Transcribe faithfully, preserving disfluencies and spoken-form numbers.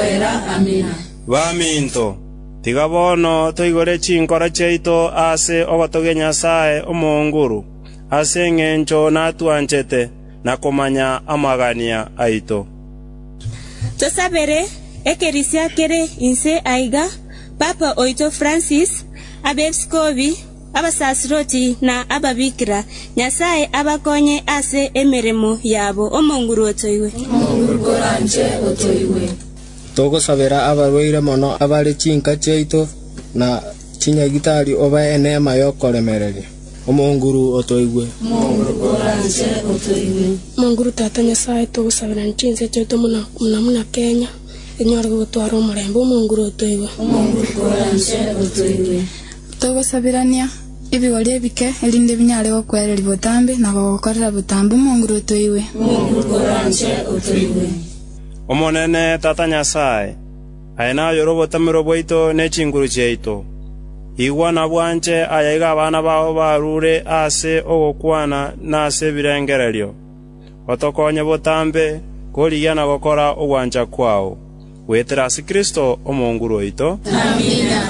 koera. Amina. Baminto, tiga bono toigore chinkoro chiaito ase ogotogia Nyasae Omonguru, ase engencho natwanchete na komanya amagania aito. Tosabere ekerisia kere inse aiga, Papa oito Francis, abepiskopi, abasasiroti na ababikira, Nyasae abakonye ase emeremo yabo. Omonguru otoigwe. Omonguru koranche otoigwe. Togosabera abarwaire mono abare chinka chiaito na chinyagitari obae eneema y'okoremereria. Omonguru otoigwe. Omonguru koranche otoigwe. Omonguru tata Nyasae togosabera chinse chiaito muna muna muna Kenya enyore gotwara omorembe. Omonguru otoigwe. Omonguru koranche otoigwe. Togosabirania ebigori ebike erinde binyare gokwereria botambe na gogokorera botambe. Omonguru otoigwe. Omonguru koranche otoigwe. Omonene tata Nyasae, aye nayore obotamero bwaito ne chinguru chiaito. Igwa na bwanche ayaiga abana bao barure ase ogokwana na ase ebirengererio. Otokonye botambe korigia na gokora ogwancha kwao. Goetera ase Kristo Omonguru oito. Amina.